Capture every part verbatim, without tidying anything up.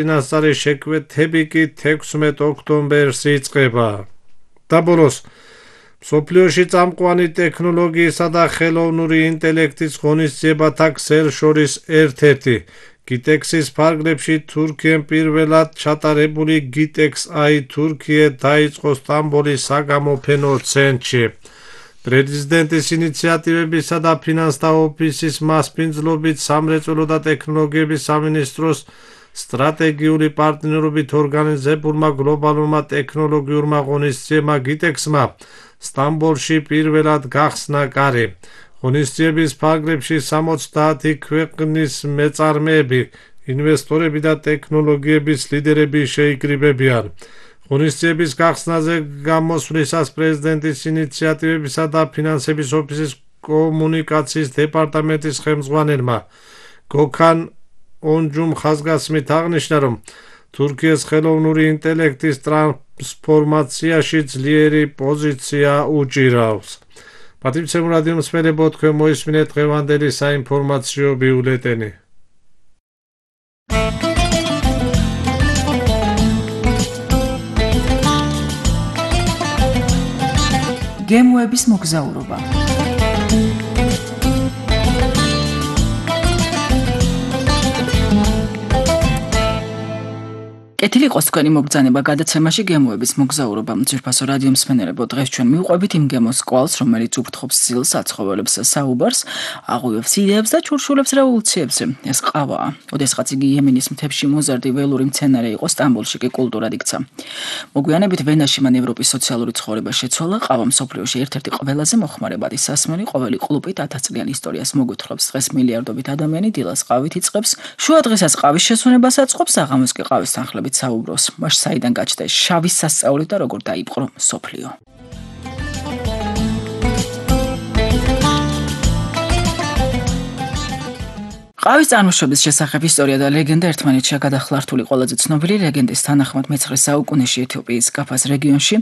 წინასწარი შეკვეთები კი თექვსმეტ ოქტომბერს იწყება. და ბოლოს, მსოფლიოში წამყვანი ტექნოლოგიისა და ხელოვნური ინტელექტის ღონისძიებათა ქსელ შორის ერთ-ერთი გიტექსის ფარგლებში თურქიამ პირველად ჩატარებული გიტექს აი თურქია დაიწყო სტამბოლის საგამოფენო ცენტრში. პრეზიდენტის ინიციატივებისა და ფინანსთა ოფისის მასპინძლობით სამრეწველო და ტექნოლოგიების სამინისტროს სტრატეგიული პარტნიორობით ორგანიზებულმა გლობალურმა ტექნოლოგიურმა ღონისძიებმა გიტექსმა სტამბოლში პირველად გახსნა კარი. ღონისძიების ფარგლებში სამოცდაათი ქვეყნის მეწარმეები, ინვესტორები და ტექნოლოგიების ლიდერები შეიკრიბებიან. ღონისძიების გახსნაზე გამოსვლისას პრეზიდენტის ინიციატივებისა და ფინანსების ოფისის კომუნიკაციის დეპარტამენტის ხელმძღვანელმა გოქან ონჯუმ ხაზგასმით აღნიშნა, რომ თურქიის ხელოვნური ინტელექტის ტრანსფორმაციაში ძლიერი პოზიცია უჭირავს. პატრიცემ რადიო მსმენელებო, თქვენ მოისმინეთ დღევანდელი საინფორმაციო ბიულეტენი. გემოების მოგზაურობა. კეთილი იყოს თქვენი მოგზაურობა გადაცემაში გემოების მოგზაურობა. ძვირფასო რადიო მსმენელებო, დღეს ჩვენ მივყვებით იმ გემოს კვალს, რომელიც უფრთხობს სილს, საცხოვრებლებს, საუბარს, აღვივებს იდეებს და ჩურჩულებს რევოლუციებზე. ეს ყავაა. ოდესღაც იგი იემენის მთებში მოზარდი ველური მცენარე იყო, სტამბოლში კი კულტურად იქცა. მოგვიანებით ვენაში მან ევროპის სოციალური ცხოვრება შეცვალა. ყავა მსოფლიოში ერთ-ერთი ყველაზე მოხმარებადი სასმელი, ყოველი ყლუპით ათასწლიან ისტორიას მოგვითხრობს. დღეს მილიარდობით ადამიანი დილას ყავით იწყებს, შუა დღესაც ყავის შესვენებას აწყობს, საღამოს კი ყავის თანხლებით საუბრობს. მას საიდან გაჩნდა შავის სასწაული და როგორ დაიპყრო მსოფლიო. ყავის წარმოშობის შესახებ ისტორია და ლეგენდა ერთმანეთშია გადახლართული. ყველაზე ცნობილი ლეგენდის თანახმად მეცხრე საუკუნეში ეთიოპიის კაფას რეგიონში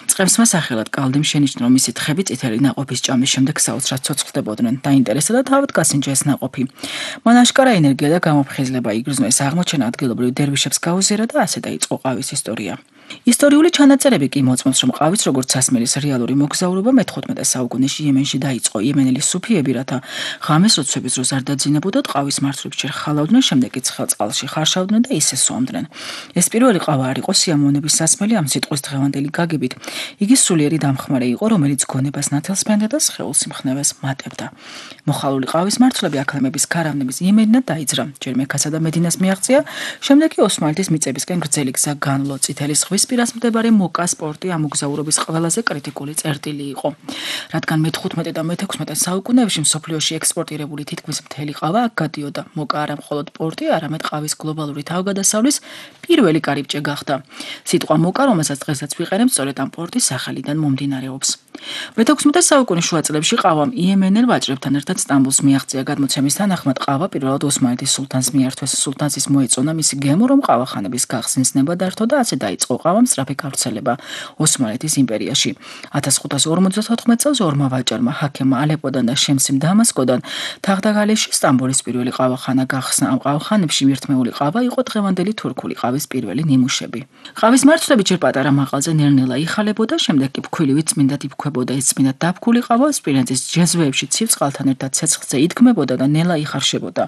მწყემსმა სახელად კალდიმ შენიშნა, რომ მისი თხები წითელი ნაყოფის ჭამის შემდეგ საოცრად ცოცხლდებოდნენ. დაინტერესდა და თავად გასინჯა ეს ნაყოფი. მან აშკარა ენერგია და გამოფხიზლება იგრძნო. ეს აღმოჩენა ადგილობრივ დერვიშებს გაუზიარა და ასე დაიწყო ყავის ისტორია. ისტორიული ჩანაწერები კი მოწმობს, რომ ყავის როგორც სასმელის რეალური მოგზაურობა მეთხუთმეტე საუკუნეში იემენში დაიწყო. იემენელი სუფიები, რათა ღამეს როცვების დროს არ დაძინებოდათ, ყავის მარცვლებს ჯერ ხალავდნენ, შემდეგ კი ცხელ წყალში ხარშავდნენ და ისე სვამდნენ. ეს პირველი ყავა არ იყო სიამოვნების სასმელი ამ სიტყვის დღევანდელი გაგებით. იგი სულიერი დამხმარე იყო, რომელიც გონებას ნათელს ფენდა და სხეულს იმხნევას მატებდა. მოხალული ყავის მარცვლები აქლემების ქარავნების იემენიდან დაიძრა. ჯერ მექასა და მედინას მიაღწია, შემდეგ კი ოსმალეთის მიწებისკენ გრძელი გზა განლო. წითელი ზღვის პირას მდებარე მოკა სპორტი ამ მოგზაურობის ყველაზე კრიტიკული წერტილი იყო. რადგან მეთხუთმეტე და მეთექვსმეტე საუკუნეებში მსოფლიოში ექსპორტირებული თითქმის მთელი ყავა აქ გადიოდა. მოკა არა მხოლოდ პორტი, არამედ ყავის გლობალური თავგადასავლის პირველი კარიბჭე გახდა. სიტყვა მოკა, რომელსაც დღესაც ვიყენებთ, სწორედ ამ პორტის სახელიდან მომდინარეობს. მეთექვსმეტე საუკუნის შუა წლებში ყავამ იემენელ ვაჭრებთან ერთად სტამბოლს მიაღწია. გადმოცემის თანახმად ყავა პირველად ოსმალეთის სულთანს მიართვეს. სულთანს ის მოეწონა მისი გემო, რომ ყავახანების გახსნის ნება დართო და ასე დაიწყო ყავამ სწრაფი გავრცელება ოსმალეთის იმპერიაში. ათას ხუთას ორმოცდათოთხმეტ წელს ორმა ვაჭარმა ჰაქემმა ალეპოდან და შემსიმ დამასკოდან თაღდაგალეში სტამბოლის პირველი ყავახანა გახსნა. ამ ყავახანებში მირთმეული ყავა იყო დღევანდელი თურქული ყავის პირველი ნიმუშები. ყავის მარცვლები ჯერ პატარა მაღალზე ნელ-ნელა იხალებოდა, შემდეგ კი ფქვილივით წმინდად იფქვებოდა. ეს წმინდად დაფქული ყავა სპილენძის ჯეზვეებში ცივ წყალთან ერთად ცეცხლზე იდგმებოდა და ნელა იხარშებოდა.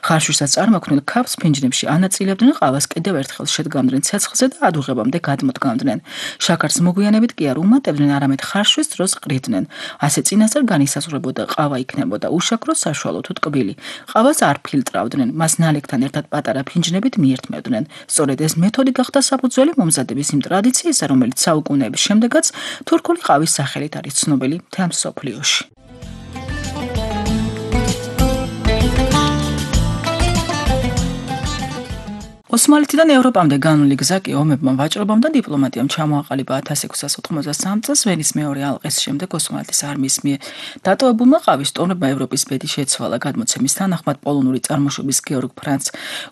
ხარშვისას წარმოქმნილ ქაფს ფინჯნებში ანაწილებდნენ, ყავას კიდევ ერთხელ შედგამდნენ ცეცხლზე და ადუღებამდე გადმოდგამდნენ. შაქარს მოგვიანებით კი არ უმატებდნენ, არამედ ხარშვის დროს ყრიდნენ. ასე წინასწარ განისაზღვრებოდა ყავა იქნებოდა უშაქრო, საშუალო თუ ტკბილი. ყავას არ ფილტრავდნენ, მას ნალექთან ერთად პატარა ფინჯნებით მიერთმევდნენ. სწორედ ეს მეთოდი გახდა საფუძველი მომზადების იმ ტრადიციისა, რომელიც საუკუნეების შემდეგაც თურქული ყავის სახელით არის ცნობილი მთელ მსოფლიოში. ოსმალეთიდან ევროპამდე განული გზა კი ომებმა, ვაჭრობამ და დიპლომატიამ ჩამოაყალიბა ათას ექვსას ოთხმოცდასამ წელს ვენის მეორე ალყის შემდეგ ოსმალეთის არმიის მიერ დატოვებულმა ყავის ტომებმა ევროპის ბედი შეცვალა. გადმოცემის თანახმად პოლონური წარმოშობის გეორგ ფრანც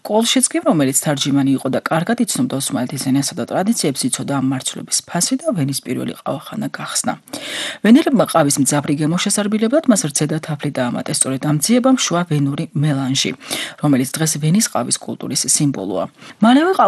კოლშიცკიმ, რომელიც თარჯიმანი იყო და კარგად იცნობდა ოსმალეთის ენასა და ტრადიციებს, იცოდა ამ მარცვლების ფასი და ვენის პირველი ყავახანა გახსნა. ვენელებმა ყავის მძაფრი გემო შესარბილებად მას რძედა თაფლი დაამატეს. სწორედ ამ ძიებამ შუა ვენური მელანჟი, რომელიც დღეს ვენის ყავის კულტურის სიმბოლოა. მალევე